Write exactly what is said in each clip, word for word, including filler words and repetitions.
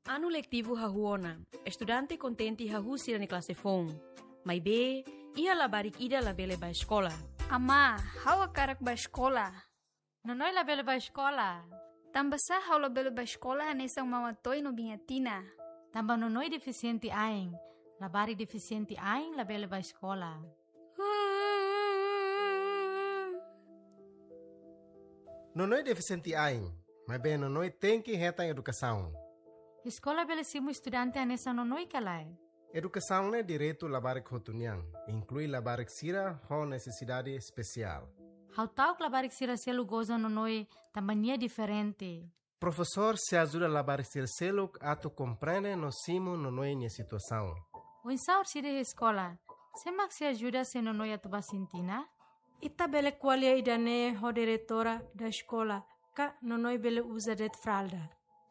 Anu letivu hahú ona, estudante kontente hahú sira-nia klase foun. Maibé, iha labarik ida labele bá eskola. Amá, ha'u hakarak bá eskola. Nonoi labele bá eskola. Tanbasá ha'u labele bá eskola hanesan Mama Toy no Biña Tina? Tanba Nonoi defisiente ain. Labarik defisiente ain labele bá eskola. Nonoi defisiente ain, maibé Nonoi tenke hetan edukasaun. Eskola bele simu estudante hanesan Nonoi ka lae? Edukasaun ne'e direitu labarik hotu nian, inklui labarik sira ho nesesidade espesiál. Ha'u ta'uk labarik sira seluk goza Nonoi tanba nia diferente. Profesór sei ajuda labarik sira seluk atu komprende no simu Nonoi nia situasaun. Oinsá orsida iha eskola, sé mak sei ajuda se Nonoi atu bá sintina? Ita bele ko'alia ida-ne'e ho diretora da eskola, ka Nonoi bele uza de'it fralda.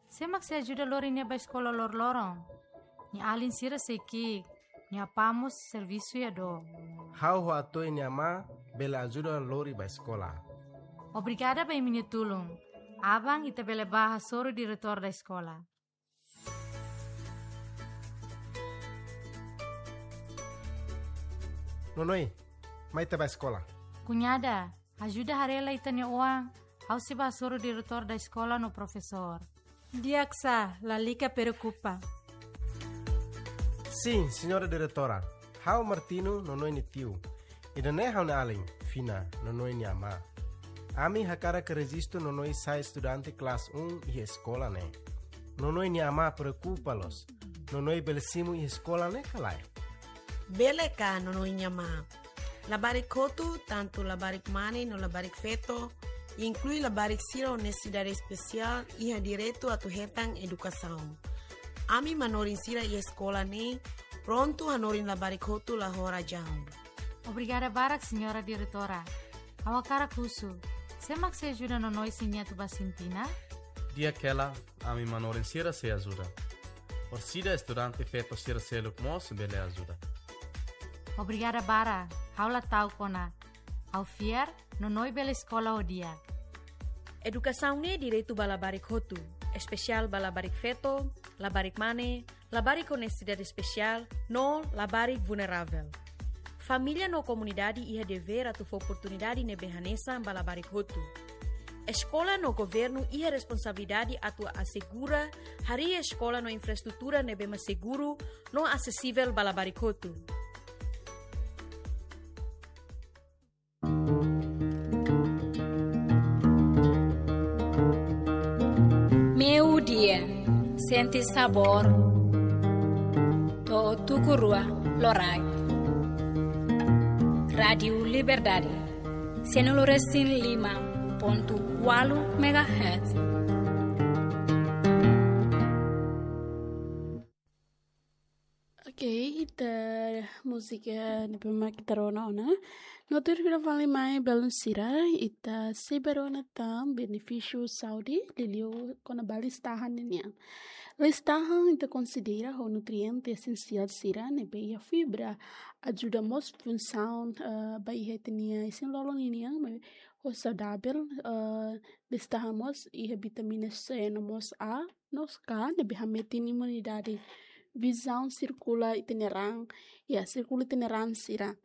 Sé mak sei ajuda lori nia bá eskola loroloron? Nia alin sira sei ki'ik, nia apá mós servisu iha dook. Ha'u ho Atoy nia amá bele ajuda lori bá eskola. Obrigada ba imi-nia tulun. Aban ita bele bá hasoru diretór da eskola. Nonoi, mai ita bá eskola. Kuñada, ajuda haree lai ita-nia oan, ha'u sei bá hasoru diretór da eskola no profesór. Di'ak sá, lalika preokupa. Sin, señora diretora. Ha'u Martino, Nonoi nia tiu. Ida-ne'e ha'u-nia alin, Fina, Nonoi nia amá. Ami hakarak rejistu Nonoi sai estudante klase un iha eskola ne'e. Nonoi nia amá preokupa loos. Nonoi bele simu iha eskola ne'e ka lae? Bele ka, Nonoi nia amá? Labarik hotu, tantu labarik mane no labarik feto, inklui labarik sira ho nesesidade espesiál, iha direitu atu hetan edukasaun. Ami manorin sira iha eskola ne'e prontu hanorin labarik hotu la ho razaun. Obrigada barak, señora diretora. Ha'u hakarak husu, sé mak sei ajuda Nonoi se nia atu bá sintina? Di'ak hela, ami manorin sira sei ajuda. Orsida estudante feto sira seluk mós bele ajuda. Obrigada barak, ha'u la ta'uk ona. Ha'u fiar, Nonoi bele eskola ho di'ak. Edukasaun ne'e direitu ba labarik hotu, espesiál ba labarik feto, labarik mane, labarik ho nesesidade espesiál, no labarik vulneravel. Família no komunidade iha devér atu fó oportunidade ne'ebé hanesan ba labarik hotu. Eskola no governu iha responsabilidade atu asegura harii eskola no infraestrutura ne'ebé mak seguru no asesivel ba labarik hotu. Meiudia, sente sabór to'o tuku rua loraik. Rádiu Liberdade, cento e cinco e cinco ponto quatro megahertz. Ok, ita múzika ne'ebé mak ita rona ona. No tuir fila fali mai belun sira, ita sei bá rona tan benefísiu saúde, liuliu kona-ba listahan ninian. Listahan ita konsidera ho nutriente esensiál sira ne'ebé iha fibra, ajuda mós funsaun, eh, ba iha ita-nia isin-lolon ninian, mai ho saudavel, eh, listahan mós iha vitamina C no mós A, no K, ne'ebé hametin imunidade, vizaun, sirkula ita-nia raan, ya, sirkula ita-nia raan sira.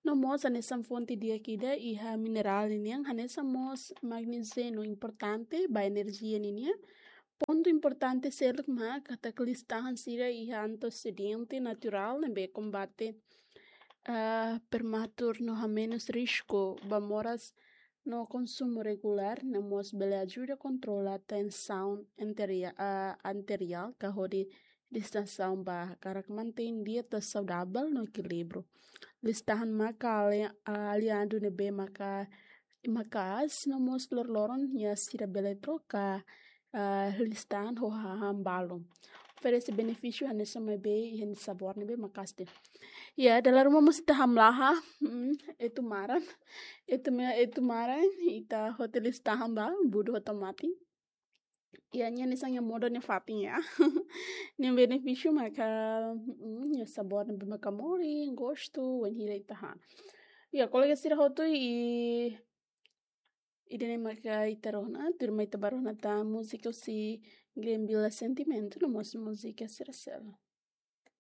No mós hanesan fonte di'ak ida iha minerál ninian, hanesan mós magnéziu no importante ba enerjia ninian. Pontu importante seluk mak katak listahan sira iha antioksidiante naturál ne'ebé kombate, ah, prematuru no hamenus risku ba moras no konsumu regulár ne'e mós bele ajuda kontrola tensaun arteria-, ah, arteriál ka hodi distensaun ba hakarak mantein dieta saudavel no ekilíbriu. Listahan maka ali-, aliadu ne'ebé maka, maka'as no mós loroloron nia sira bele troka, ah, listahan ho hahán balu. Oferese benefísiu hanesan maibé iha nia sabór ne'ebé maka'as de'it. Ya, dala ruma mós ita hamlaha, mm, etu maran. Etu me-, etu maran, ita hotu listahan ba, budu ho tomate. Ya, nia hanesan nia modo nia fatin ya. Nia benefísiu maka, mm, nia sabór ne'ebé maka morin, gostu, wainhira ita han. Ya, kolega sira hotu i Ida-ne'e maka ita rona, tuirmai ita bá rona tan múzika husi Glenn Villa Sentimentu, no mós múzika sira seluk.